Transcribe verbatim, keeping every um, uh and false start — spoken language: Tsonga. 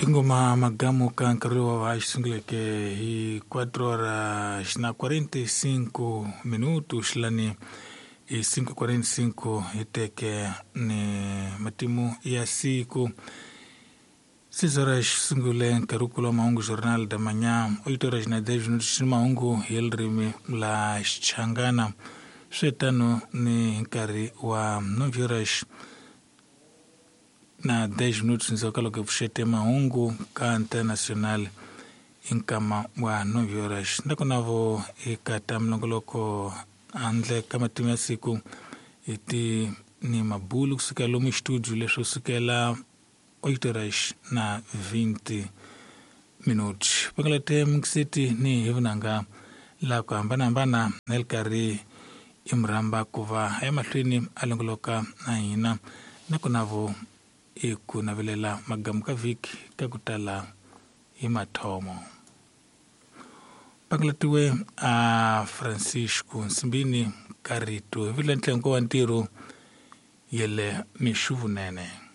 Ingoma magamu ka nkarhi lowu wa xi sunguleke hi quatro horas na quarenta e cinco minutos lani hi cinco quarenta e cinco hi teke ni matimu ya siku. Seis horas sungule nkarhi wukulu wa mahungu Jornal da Manhã, oito horas na dez minutos ni mahungu hi ririmi la Xichangana. Swetano ni nkarhi wa nove horas na dez minutos ndzhaku ka loko hi pfuxete mahungu ka Internacional hi nkama wa nove horas. Nakona vo eka ta minongoloko handle ka matimu ya siku hi ti ni mabulu kusukela lomu xitudio leswo sukela oito horas na vinte minutos. Pangalate mingiseti ni hi vunanga la ku hambanahambana na li karhi i murhamba ku va emahlweni a longoloka na hina nakona vo i ku navelela magamu ka vhiki ka ku tala hi mathomo. Pangalatiwe a Francisco Nsimbini ka rito hi vula ntlengo wa ntirho yele mixuvunene.